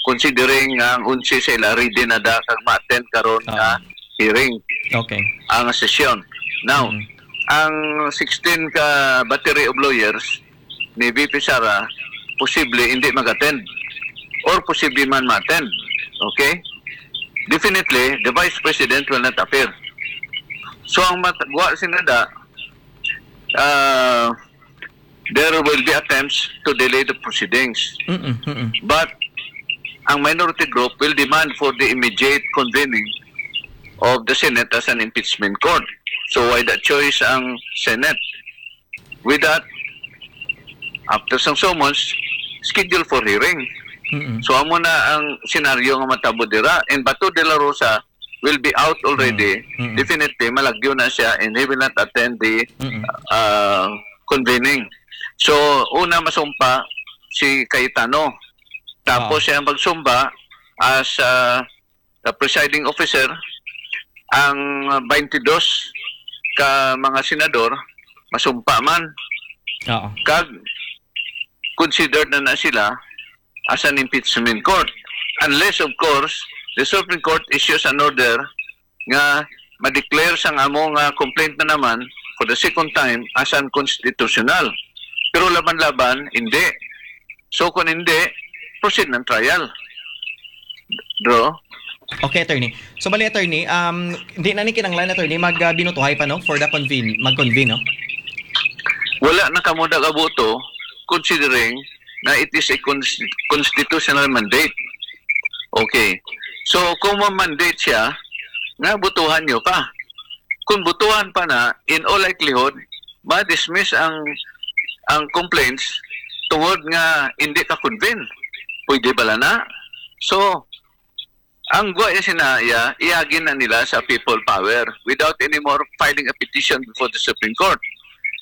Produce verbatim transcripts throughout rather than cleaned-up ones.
considering nga ang onse sa ila ready na da kag ma-attend karon nga hearing, Okay. ang sesyon. Now, Mm. ang sixteen ka battery of lawyers ni V P Sara posible hindi mag-attend or posible man ma-attend. Okay? Definitely, the Vice President will not appear. So, ang matagwa sinada, ah, there will be attempts to delay the proceedings. Mm-mm, mm-mm. But ang minority group will demand for the immediate convening of the Senate as an impeachment court. So why the choice ang Senate? With that, after sang summons, schedule for hearing. Mm-mm. So amo na ang senaryo nga matabo dira. And Bato de la Rosa will be out already. Mm. Mm. Definitely, malagyo na siya and he will not attend the Mm-mm. uh, convening. So, una masumpa si Cayetano. Tapos Oo. siya ang magsumba as uh, the presiding officer. Ang twenty-two ka mga senador, masumpa man. Oo. Kag considered na na sila as an impeachment court. Unless, of course, the Supreme Court issues an order nga ma-declare sang amo nga complaint na naman for the second time as unconstitutional. Pero laban-laban, hindi. So, kung hindi, proceed ng trial. Bro? Okay, attorney. So, bali, attorney, um, hindi na ni kinanglan, attorney, mag, ah, binutuhay pa, no? For the convene, mag-convene, no? Wala na kamo nagaboto considering na it is a consti-, constitutional mandate. Okay. So, kung ma-mandate siya, nga botohan nyo pa. Kung botohan pa na, in all likelihood, ma-dismiss ang ang complaints tungod nga hindi ka convene. Pwede bala na? So, ang gwa ya sina iya, iagi na nila sa people power without anymore filing a petition before the Supreme Court.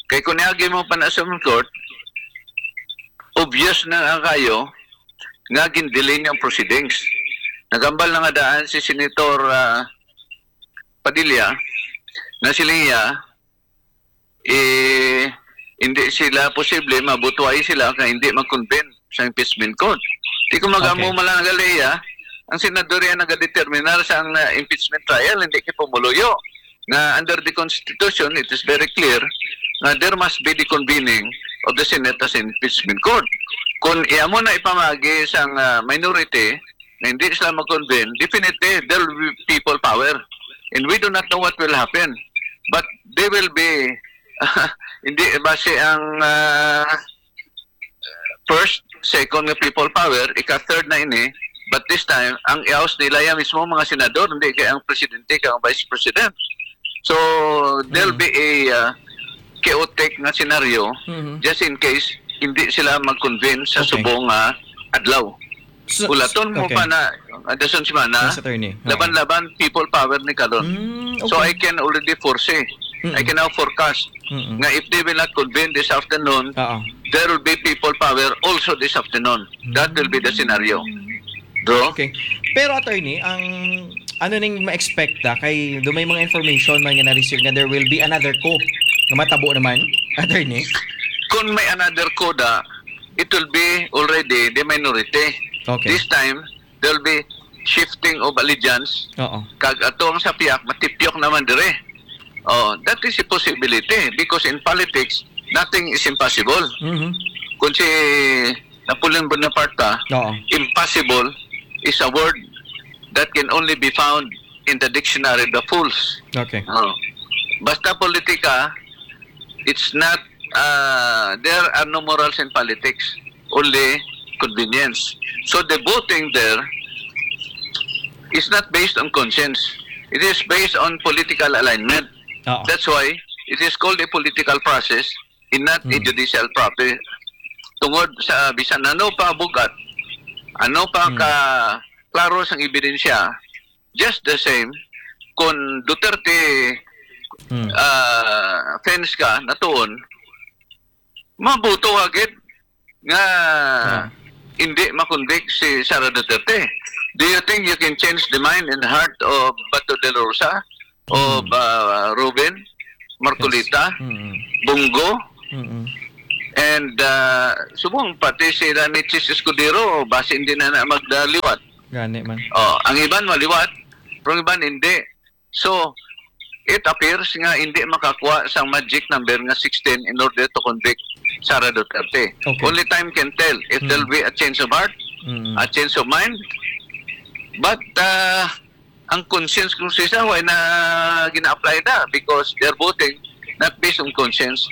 Kay kung iagi mo pa na sa Supreme Court, obvious na nga kayo nga gindelay niya ang proceedings. Nagambal na nga daan si Senator ah, Padilla na sila iya, eh, hindi sila posible, mabutuay sila kay hindi mag-convene sa impeachment court. Di ko magamo Okay. Malangaliya, ang senador yan nagadeterminar sa ang uh, impeachment trial, hindi kay pumuluyo. Nga under the Constitution, it is very clear nga there must be the convening of the Senate as impeachment court. Kung iya mo na ipamagi sa uh, minority na hindi sila mag-convene, definitely there will be people power. And we do not know what will happen. But they will be, hindi, base ang uh, first, second nga people power, ika-third na ini, but this time, ang i-oust nila yan mismo mga senador, hindi kay ang presidente, kay ang vice president. So, there'll Mm. be a uh, chaotic nga scenario Mhm. just in case hindi sila mag-convene sa Okay. subong nga adlaw. So, Ulaton mo okay. pa na, uh, dason semana, Yes, attorney. Oo. laban-laban, people power ni karon. Mm, So, okay. I can already foresee. Mm-mm. I can now forecast Mm-mm. nga if they will not convene this afternoon, Oo. there will be people power also this afternoon. That will be the scenario. Bro? Okay. Pero, attorney, ang ano ning ma-expect ta kay do may mga information man nga na-receive nga there will be another coup nga matabo naman, attorney? Kung may another coup da, it will be already the minority. Okay. This time, there will be shifting of allegiance. Oo. Kag ato ang sa piyak, matipyok naman dire. Oh, that is a possibility because in politics, nothing is impossible. Mhm. Kung si Napoleon Bonaparte, Oo. impossible is a word that can only be found in the dictionary, the fools. Okay. Oh. Basta politika, it's not, uh, there are no morals in politics, only convenience. So the voting there is not based on conscience. It is based on political alignment. Oo. That's why it is called a political process and not a Hmm. judicial process. Tungod sa bisan ano pa bugat, ano pa Hmm. ka klaro sang ebidensya, just the same, kung Duterte Hmm. ah, fans ka, natuon, mabuto ka gid nga Ah. hindi makonvict si Sara Duterte. Do you think you can change the mind and heart of Bato de la Rosa, of Hmm. ah, Robin, Marcoleta, Yes. Mm-mm. Bong Go? Mm-mm. And ah, subong pati sila ni Chiz Escudero, basi hindi na na magdaliwat. Gani man. Oh, ang iban maliwat, pero ang iban hindi. So, it appears nga hindi makakuha sang magic number nga sixteen in order to convict Sara Duterte. Okay. Only time can tell if Hmm. there'll be a change of heart, Mm. a change of mind. But ah, ang conscience kung sisa, why na gina-apply na? Because they're voting not based on conscience,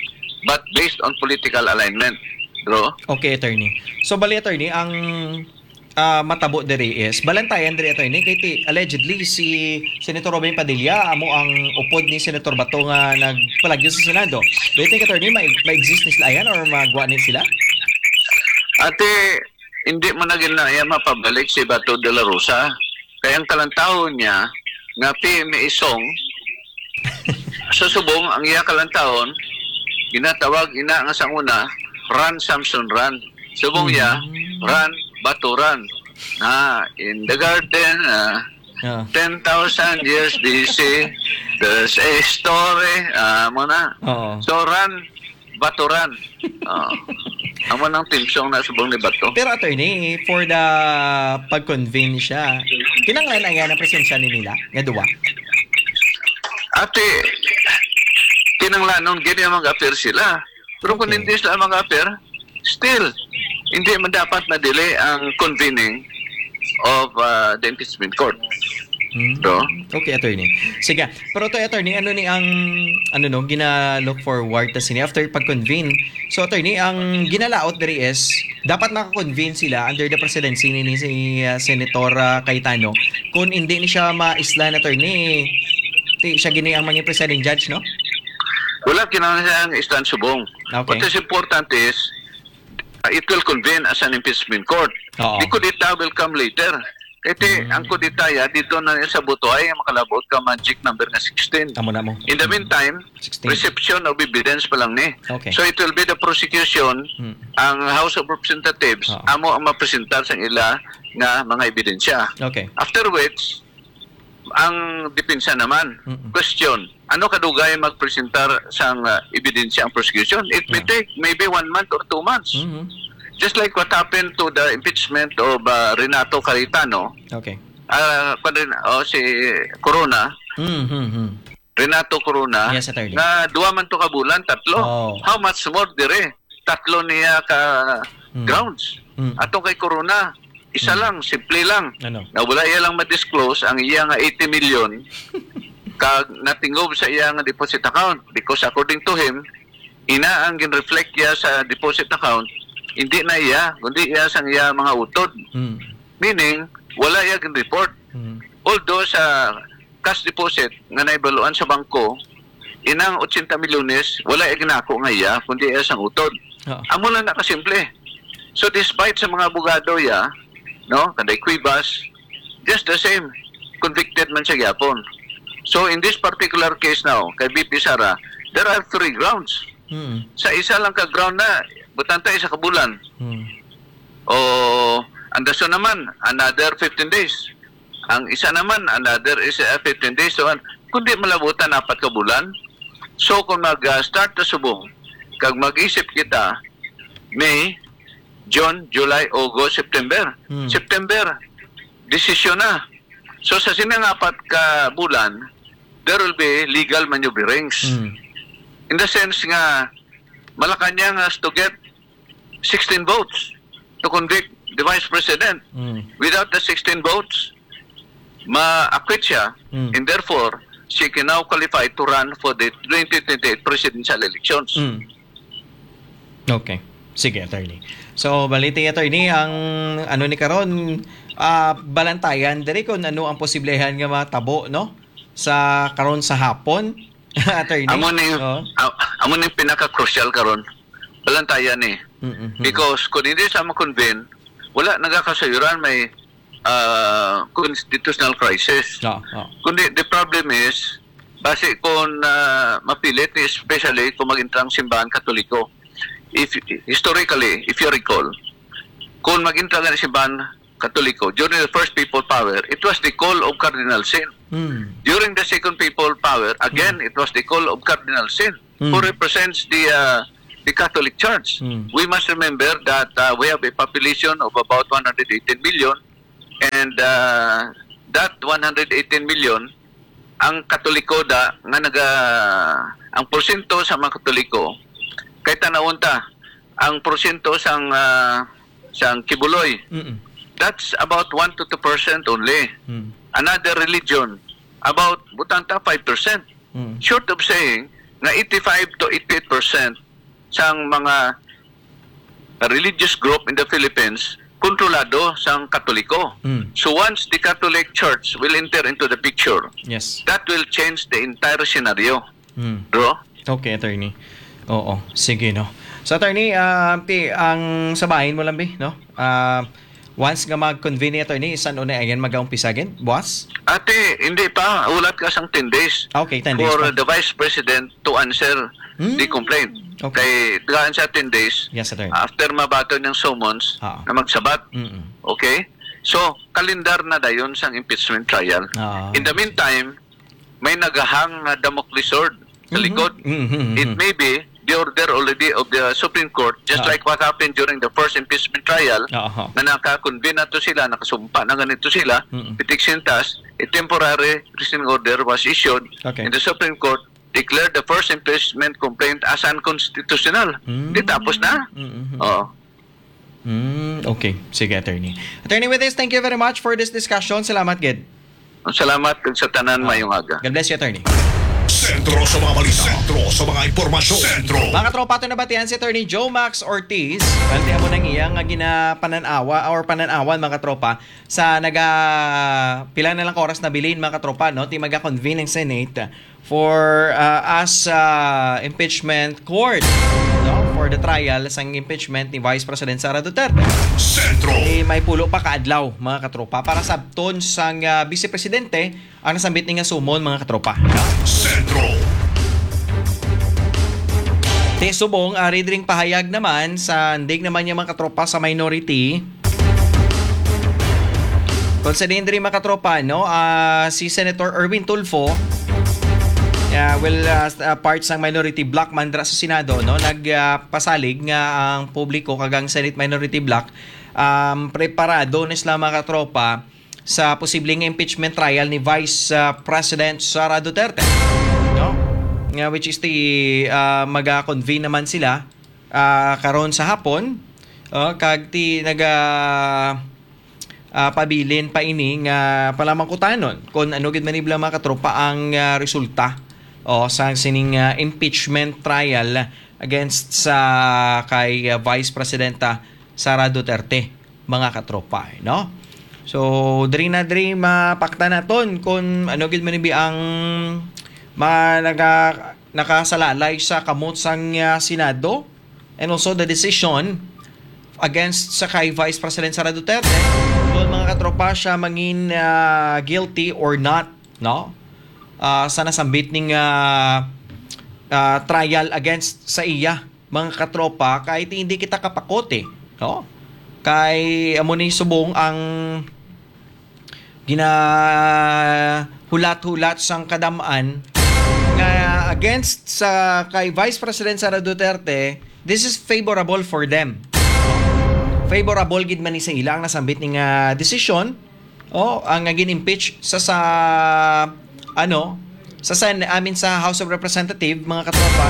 but based on political alignment, bro. Okay, attorney. So, bali, attorney, ang ah, matabo diri is balantayan diri, attorney, kay ti, allegedly si Senator Robin Padilla amo ang upod ni Senator Bato nga nagpalagyo sa Senado. Do you think, attorney, ma- ma-exist ni sila yan or magwa ni sila? Ate, hindi mo na ginaya mapabalik si Bato de la Rosa. Kay ang talantahon niya nga P M A song, sa subong ang iya kalantahon, ginatawag ina nga sang una, Run Samson Run. Subong iya, Mm. Run Bato Run. Na, in the garden, ah, Ah. ten thousand years B C, there's a story. Ah, mo na. Oo. So, Run Bato Run. Ah. Amo nang theme song na subong ni Bato. Pero, attorney, for the pag-convene siya, kinanglan na yan ang presensya ni nila, nga duwa? Ate, kinanglanon gid nga mag-appear sila. Pero kung Okay. hindi sila mag-appear, still, hindi man dapat madili ang convening of ah, the impeachment court. Hmm. So? Okay, attorney. Sige. Pero to, attorney, ano ni ang, ano, no, gina-look forward ta sini after pag-convene? So, attorney, ang ginalaot diri is dapat naka-convene sila under the presidency ni, ni si ah, Senator ah, Cayetano. Kung hindi ni siya maislan, attorney, ti siya gini ang mga presiding judge, no? Wala kinahanglan siya ang islan subong. Okay. What is important is, uh, it will convene as an impeachment court. Oo. The kudeta will come later. Kaya ti, Mm. ang kudeta ya, dito na sa butuay, ang makalabot ka magic number nga sixteen. Amo na mo. In the meantime, Sixteen. reception of evidence pa lang ni. Okay. So it will be the prosecution, Mm. ang House of Representatives, Oo. amo ang mapresentar sa ila nga mga ebidensya. Okay. After which, ang depensa naman. Mm-mm. Question, ano kadugay magpresentar sang ah, ebidensya ang prosecution? It may Yeah. take maybe one month or two months. Mm-hmm. Just like what happened to the impeachment of ah, Renato Cayetano, Okay. ah, kwan rin, oh, si Corona, Mm-hmm. Renato Corona, Yes, attorney. nga duwa man to ka bulan, tatlo. Oh. How much more dire? Tatlo niya ka Mm. grounds. Mm. Atong kay Corona, isa Mm. lang, simple lang. Ano? Nga wala iya lang ma-disclose ang iya nga eighty million kag natingob sa iya nga deposit account, because according to him, ina ang gin-reflect iya sa deposit account, hindi na iya, kundi iya sang iya mga utod. Mm. Meaning, wala iya gin-report. Mm. Although sa cash deposit nga naibaluan sa bangko, inang eighty milyones, wala iya ginako nga iya, kundi iya sang utod. Oo. Amo lang na kasimple. So, despite sa mga abogado iya, no, kanday Cuevas, just the same, convicted man siya gyapon. So, in this particular case now, kay V P Sara, there are three grounds. Hmm. Sa isa lang ka ground na, butanta isa ka bulan. Hmm. O, ang dason naman, another fifteen days. Ang isa naman, another is, uh, fifteen days. So, an-, kundi malabutan apat ka bulan. So, kung mag, uh, start na subong, kag mag-isip kita, May, June, July, August, September. Hmm. September, desisyon na. So, sa sini nga apat ka bulan, there will be legal maneuverings. Hmm. In the sense nga, Malacañang has to get sixteen votes to convict the vice president. Mm. Without the sixteen votes, ma-acquit siya, Mm. and therefore, she can now qualify to run for the twenty twenty-eight presidential elections. Mm. Okay. Sige, attorney. So, baliti, attorney, ang ano ni karon, ah, balantayan diri kung ano ang posiblehon nga matabo, no? Sa karon sa hapon, attorney. Amo ni, Oo. a-, amo ni pinaka-crucial karon. Balantayan ni. Mm-mm. Because kung hindi sa mo-convene, wala nagakasayuran, may, ah, constitutional crisis. Oo, oo. Kundi the problem is, basi kung, ah, mapilit ni, especially kung mag-intrang simbahan Katoliko. If, historically, if you recall, kung mag-intrang ang simbahan Katoliko, during the first papal power, it was the call of Cardinal Sin. Hmm. During the second papal power, again, Hmm. it was the call of Cardinal Sin, who Hmm. represents the, uh, the Catholic Church. Mm. We must remember that uh, we have a population of about one hundred eighteen million, and uh, that one hundred eighteen million, ang Katoliko da nga naga ang porsyento sa mga Katoliko, kay tanawon ta ang porsyento sang uh, sang Kibuloy, Mm-mm. that's about one to two percent only. Mm. Another religion, about butang ta five percent. Mm. Short of saying nga eighty-five to eighty-eight percent sang mga religious group in the Philippines kontrolado sang Katoliko. Mm. So once the Catholic Church will enter into the picture, Yes. that will change the entire scenario, Mm. bro. Okay, attorney. Oo, sige, no. So, attorney, ah, ti, ang sabahin mo lang, bi, no? Ah, once nga mag-convene ni attorney, isan una yan mag-umpisa gid? Buwas? Ate, hindi pa. Ulat ka sang ten days Okay, ten days for pa. The vice president to answer Hmm. the complaint. Okay. Kay gaan sa ten days, Yes, attorney. After mabaton yung summons, Ah. na magsabat. Mm-mm. Okay? So, kalendar na dayon sang impeachment trial. Ah. In the meantime, may nagahang nga Damocles sword sa Mhm. likod. Mhm, mhm. It may be the order already of the Supreme Court, just Ah. like what happened during the first impeachment trial, Aha. na naka-convene na to sila, nakasumpa na ganito sila, Mm-mm. pitiksintas, a temporary restraining order was issued, Okay. and the Supreme Court declared the first impeachment complaint as unconstitutional. Mm. Di tapos na? Mm-mm. Oo. Mm, okay. Sige, attorney. Attorney Witis, thank you very much for this discussion. Salamat, gid. Salamat sa tanan, Ah. mayong aga. God bless you, attorney. Sentro sa mga balita. Sentro sa mga impormasyon. Sentro. Mga tropa, ito nabatian si Attorney Joe Max Ortiz. Kanti mo nang iya nga ginapananawa or pananawan, mga tropa, sa naga pila na lang oras na bilin, mga tropa, no? Ti maga-convene ang Senate for uh, as uh, impeachment court, no? For the trial sang impeachment ni Vice President Sara Duterte. Sentro. Eh, may pulo pa ka adlaw, mga katropa, para sabton sang uh, Vice Presidente ang nasambit ni nga sumon, mga katropa. Sentro. Ti subong, ari dring pahayag naman sa ndig naman niya, mga katropa, sa minority. Kung sa din diri, mga katropa, no, ah, si Senator Erwin Tulfo, ah, well, ah, s- ah, part sang minority bloc man dira sa Senado, no, nagpasalig nga ang publiko kag ang Senate minority bloc, um, preparado na sila, mga katropa, sa posibleng impeachment trial ni Vice ah, President Sara Duterte, no? Nga, which is the ah, maga-convene naman sila ah, karon sa hapon, oh, kag ti naga ah, pabilin pa ini nga palamangkutanon kung ano gid man ibla, mga katropa, ang ah, resulta, oh, sa sining ah, impeachment trial against sa kay ah, Vice Presidenta Sara Duterte, mga katropa, no? So, diri na diri mapakta naton kung ano gid man ibi ang mga naga, nakasalalay sa kamot sang ah, Senado, and also the decision against sa kay Vice President Sara Duterte. Kung, mga katropa, siya mangin ah, guilty or not, no? Ah, sa nasambit ning ah, ah, trial against sa iya, mga katropa, kay ti hindi kita kapakote, no? Kay amo ni subong ang ginahulat-hulat sang kadamaan nga against sa kay Vice President Sara Duterte, this is favorable for them. Favorable gid man ni sa ila ang nasambit ni nga desisyon, oh, ang nga gin-impeach sa sa ano sa Sen I mean sa House of Representative, mga katropa.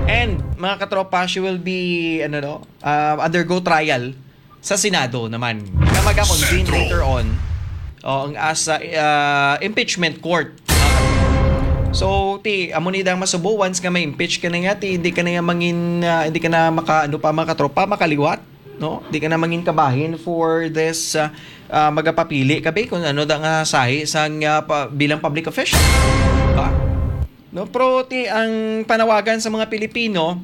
And, mga katropa, she will be ano no, uh, undergo trial sa Senado naman. Nga maga-convene Sentro. Later on, oh, ang as uh, uh, impeachment court. So, ti amo ni dang masubo, once nga ma-impeach ka na nga, ti hindi ka na nga mangin ah, hindi ka na maka ano pa, mga katropa, makaliwat, no? Di ka na mangin kabahin for this ah, ah, magapapili ka, be, kung ano da nga sahi sa nga pa, bilang public official. Diba? No, pero ti ang panawagan sa mga Pilipino,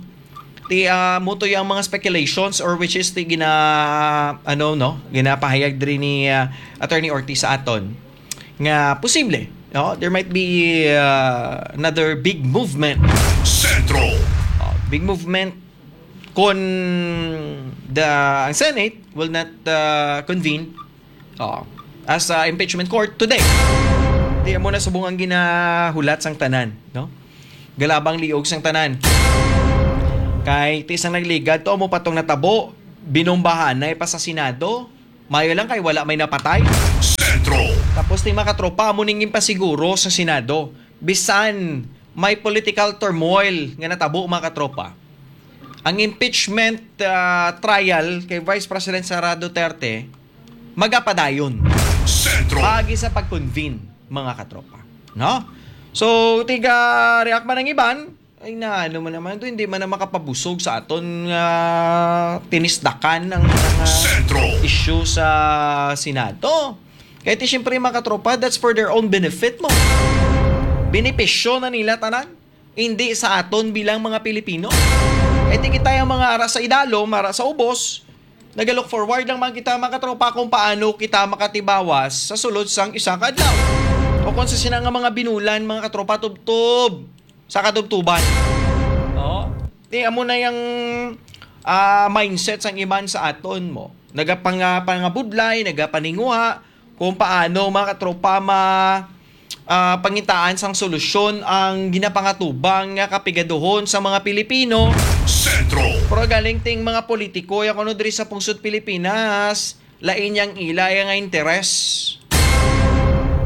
ti ah, muto yung mga speculations, or which is ti gina ano no, ginapahayag diri ni ah, Attorney Ortiz sa aton nga posible, no, there might be ah, another big movement. Sentro. Oh, big movement kung the ang Senate will not ah, convene, oh, as ah, impeachment court today. Di mo na subong ang ginahulat sang tanan, no? Galabang liog sang tanan. Kay ti sang nagligad to, amo pa tong natabo, binombahanay pa sa Senado. Mayo lang kay wala may napatay. Sentro. Tapos ni mga katropa, amo ning ginpasiguro sa Senado. Bisan may political turmoil nga natabo, mga katropa, ang impeachment, ah, trial kay Vice President Sara Duterte magapadayon. Sentro. Paagi sa pag-convene, mga katropa. No? So, tiga react man ang iban, ay na, ano man naman to, hindi man na makapabusog sa aton nga tinisdakan ang mga Sentro. Issue sa Senado. Kaya ti, siyempre, mga katropa, that's for their own benefit mo. Benepisyo na nila tanan, hindi sa aton bilang mga Pilipino. Kaya ti, kita yung mga ara sa idalom, ara sa ubos, nagalook forward lang man kita, mga katropa, kung paano kita makatibawas sa sulod sang isa ka adlaw. O kung sa sina nga mga binulan, mga katropa, tubtob sa katubtuban. Oh, di amo na yung, ah, mindset sang iban sa aton mo. Nagapang-, ah, pangabudlay, nagapaninguha kung paano, mga katropa, ma-, ah, pangitaan sang solusyon ang ginapangatubang nga kapigaduhon sa mga Pilipino. Sentro. Pero galing ting mga politiko, ya kuno diri sa pungsod Pilipinas, lain yang ila yang nga interes.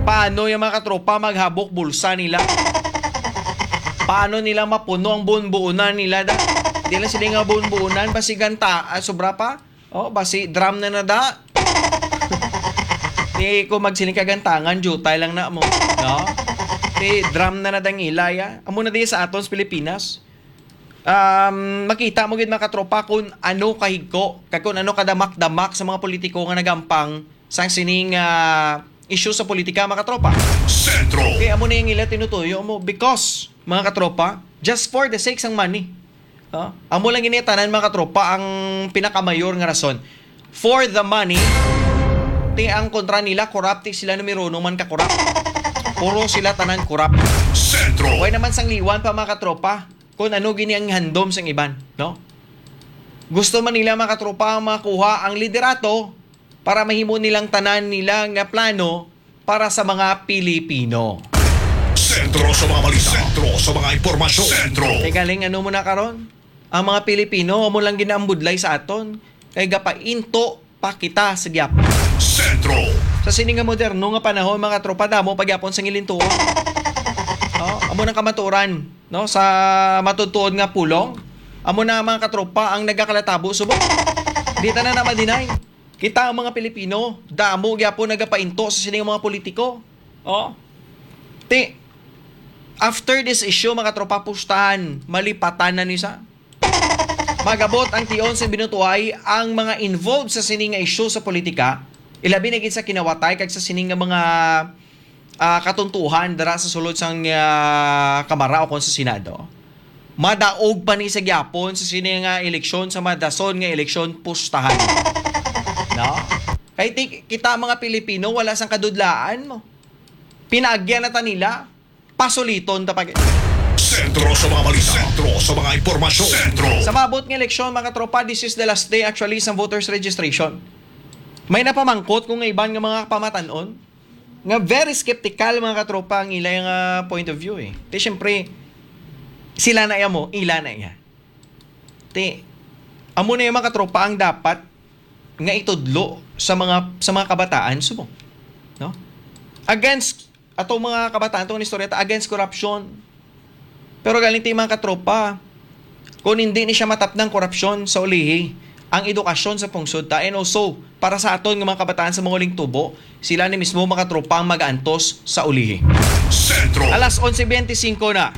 Paano yung mga katropa maghabok bulsa nila? Paano nila mapuno ang bunbuunan nila da? Di lang sila nga bunbuunan, basi ganta, ah, sobra pa. Oh, basi drum na na da. Di ko magsiling kagantangan, jutay lang na mo, no? Di drum na na dang ilay, ah. Amo na di sa aton sa Pilipinas. Um, makita mo gid, mga katropa, kung ano kahigko, kag kung ano kadamak-damak sa mga politiko nga nagampang sang sining, ah, issue sa politika, mga katropa. Sentro. Kaya amo na yung ila tinutuyo mo because, mga katropa, just for the sake sang money. Ah, amo lang gini tanan, mga katropa, ang pinakamayor nga rason. For the money, ti ang kontra nila, korapti sila, numero uno man ka korap. Puro sila tanan korap. Sentro. Way naman sang liwan pa, mga katropa, kung ano gini ang handom sang iban, no? Gusto man nila, mga katropa, ang makuha ang liderato para mahimo nilang tanan nila nga plano para sa mga Pilipino. Sentro sa mga balita. Sentro sa mga impormasyon. Sentro. Teka, Ling, ano mo na karon? Ang mga Pilipino, amo lang ginaambudlay sa aton. Kay gapainto pa kita sa gyapon. Sentro. Sa sini nga moderno nga panahon, mga tropa, damo pa gyapon sa ngilintuon. Oh, amo nang kamaturan, no, sa matutuod nga pulong. Amo na, mga katropa, ang nagakalatabo subong. Di ta na na ma-deny. Kita ang mga Pilipino, damo gyapon nagapainto sa sini nga mga politiko. Oh. Ti, after this issue, mga tropa, pustahan, malipatan na ni sa. Magabot ang tion sa binutuay ang mga involved sa sini nga issue sa politika, ilabi na gid sa kinawatay kag sa sini nga mga, ah, katuntuhan dira sa sulod sang, ah, Kamara o kon sa Senado. Madaog pa ni sa gyapon sa sini nga eleksyon, sa madason nga eleksyon, pustahan. No? Kay ti-, kita mga Pilipino, wala sang kadudlaan mo. Pinaagyan na ta nila, pasuliton ta pa gid. Sentro sa mga balita. Sentro sa mga impormasyon. Sentro. Sa maabot nga eleksyon, mga tropa, this is the last day actually sa voters registration. May napamangkot kung nga iban nga mga pamatan-on nga very skeptical, mga katropa, ang ila nga point of view, eh. Ti, syempre, sila na iya mo, ila na iya. Ti, amo na yung mga katropa ang dapat nga itudlo sa mga, sa mga kabataan subong, no? Against, ato mga kabataan, itong istorya ta, against corruption. Pero galing ti, mga katropa, kung hindi ni siya matapnang korupsyon sa ulihi, ang edukasyon sa pungsod ta, and also para sa aton nga mga kabataan sa mga uling tubo, sila ni mismo, mga katropa, ang mag-aantos sa ulihi. Sentro. Alas onse bente singko na.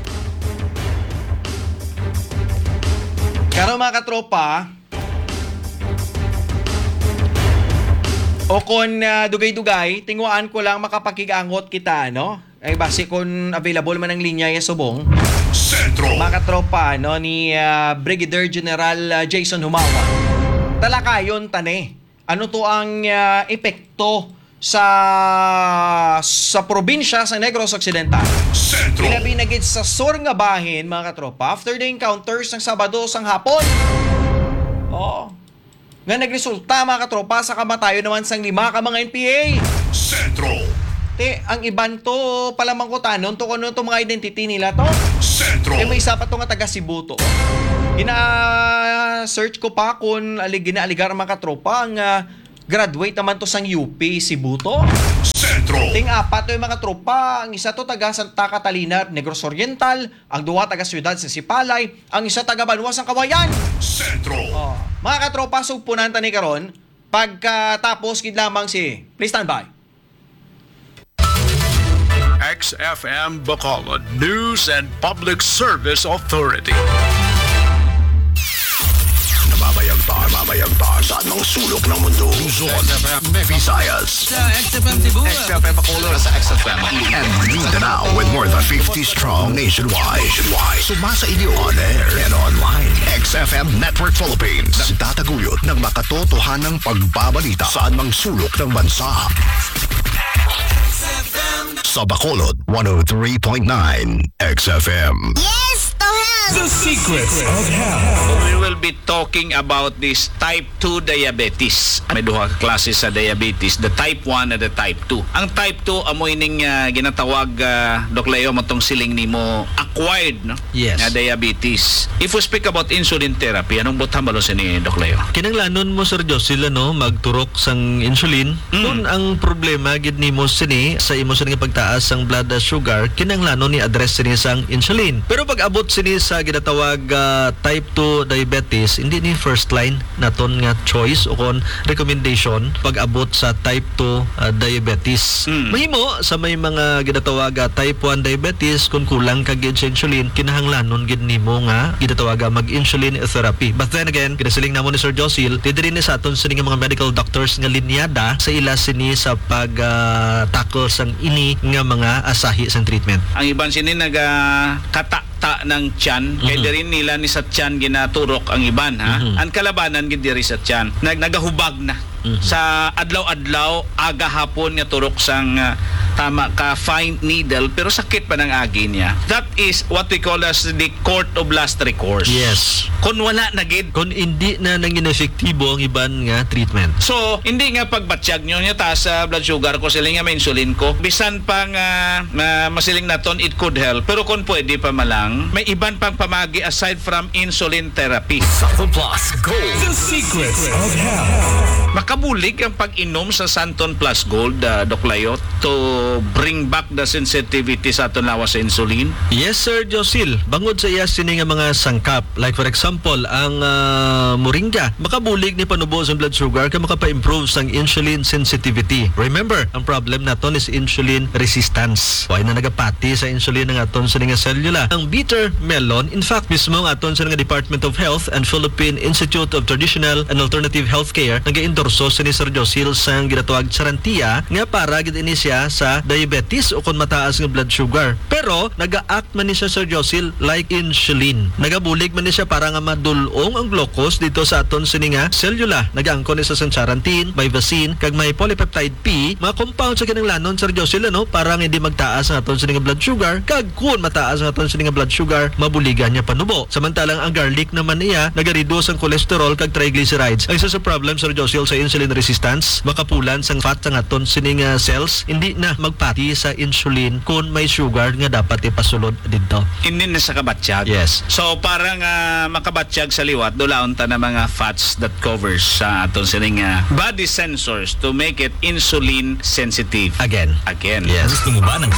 Karon, mga katropa, o kon, ah, dugay-dugay, tinguhaan ko lang makapakig-angot kita, no? Ay, basi kon available man ang linya ya subong. Sentro. Mga katropa, no, ni, ah, Brigadier General, ah, Jason Humawa. Talakayon ta ni. Ano to ang, ah, epekto sa, sa probinsya sa Negros Occidental? Sentro. Ilabi na gid sa sur nga bahin, mga katropa, after the encounters ng Sabado sang hapon. Oh. Nga nagresulta, mga katropa, sa kamatayon naman sang lima ka mga N P A. Sentro. Ti, ang iban to, palamangkutanon to, kung ano to mga identity nila to. Sentro. Kay may isa pa to nga taga Cebu to. Gina-search ko pa kung ali-, ginaaligar ang mga katropa ang, ah, graduate naman to sang U P Cebu to. Sentro. Ting apat to yung mga tropa. Ang isa to taga Santa Catalina, Negros Oriental. Ang duha taga siyudad sa Sipalay. Ang isa taga banwa sang Kawayan. Sentro. Oh, mga katropa, sugpunan ta ni karon. Pagkatapos gid lamang si, please stand by. X F M Bacolod News and Public Service Authority. Namamayagpag, namamayagpag sa anumang sulok ng mundo. Luzon, Visayas, Sa X F M Cebu. X F M Bacolod, sa X F M and Mindanao, with more than fifty strong nationwide. Nationwide. Sumasa inyo on air and online. X F M Network Philippines. Nagtataguyod ng makatotohanang pagbabalita sa anumang sulok ng bansa. Sa Bacolod, one oh three point nine X F M. Yes to health! The Secrets of Health. We will be talking about this type two diabetes. May duha ka klase sa diabetes, the type one and the type two. Ang type two amo ining, ah, ginatawag, ah, Doc Leo, matong siling nimo acquired, no? Yes. Nga diabetes. If we speak about insulin therapy, anong butang balo sini, Doc Leo? Kinanglanon mo, Sir Josil, ano, magturok sang insulin. Mm. Kung ang problema gid nimo sini sa imo sini nga pagtaas sang blood sugar, kinanglanon ni address sini sang insulin. Pero pag abot sini sa ginatawag, ah, type two diabetes, hindi ni first line naton nga choice o kon recommendation pag abot sa type two, ah, diabetes. Mm. Mahimo sa may mga ginatawag, ah, type one diabetes, kung kulang ka gid sa insulin, kinahanglanon gid nimo nga ginatawag, ah, mag-insulin therapy. But then again, ginasiling namo ni Sir Josil, di diri ni sa aton sini nga mga medical doctors nga linyada sa ila sini sa pag, ah, tackle sang ini nga mga asahi sang treatment. Ang iban sini nagakata ta ng tiyan, kay Mhm. diri nila ni sa tiyan ginaturok ang iban, ha? Mhm. Ang kalabanan gid diri sa tiyan, nag-, nagahubag na Mhm. sa adlaw-adlaw, aga hapon nga turok sang, ah, tama ka, fine needle, pero sakit pa nang agi niya. That is what we call as the court of last recourse. Yes. Kung wala na gid. Kung hindi na nangin epektibo ang iban nga treatment. So, hindi nga pagbatyag nyo niya taas sa blood sugar ko, siling nga may insulin ko. Bisan pa nga, ah, masiling naton, it could help. Pero kung pwede pa malang, may iban pang pamagi aside from insulin therapy. Santon Plus Gold. The Secrets of Health. Makabulig ang pag-inom sa Santon Plus Gold, ah, Doc Layot, to bring back the sensitivity sa aton lawas sa insulin? Yes, Sir Josil. Bangod sa iya sini nga mga sangkap, like for example, ang, ah, moringa, makabulig ni panubo sa blood sugar kag makapa-improve sang insulin sensitivity. Remember, ang problem naton is insulin resistance. Wala na nagapati sa insulin ang aton sini nga selula. Ang bitter melon, in fact, mismo ang aton sini nga Department of Health and Philippine Institute of Traditional and Alternative Healthcare nag-endorso sini, Sir Josil, sang ginatawag charantia nga para gid ini siya sa diabetes o kon mataas nga blood sugar. Pero naga-act man ni siya, Sir Josil, like insulin. Nagabulig man ni siya para nga madul-ong ang glucose dito sa aton sini nga selula. Nagaangkon ni siya sang charantin, mivacin, kag may polypeptide P, mga compound sa kinahanglanon, Sir Josil, ano, para nga hindi magtaas ang aton sini nga blood sugar, kag kun mataas ang aton sini nga blood sugar, mabuligan niya panubo. Samantalang ang garlic naman niya, nagareduce ang cholesterol kag triglycerides. Ang isa sa problem, Sir Josil, sa insulin resistance, makapulan sang fat sang aton sini nga cells, hindi na magpati sa insulin kun may sugar nga dapat ipasulod didto. Hindi na sa kabatyag. Yes. So, para nga makabatyag sa liwat, dulaon ta na mga fats that covers sa aton sining, ah, body sensors to make it insulin sensitive. Again. Again. Yes. Gusto mo ba ng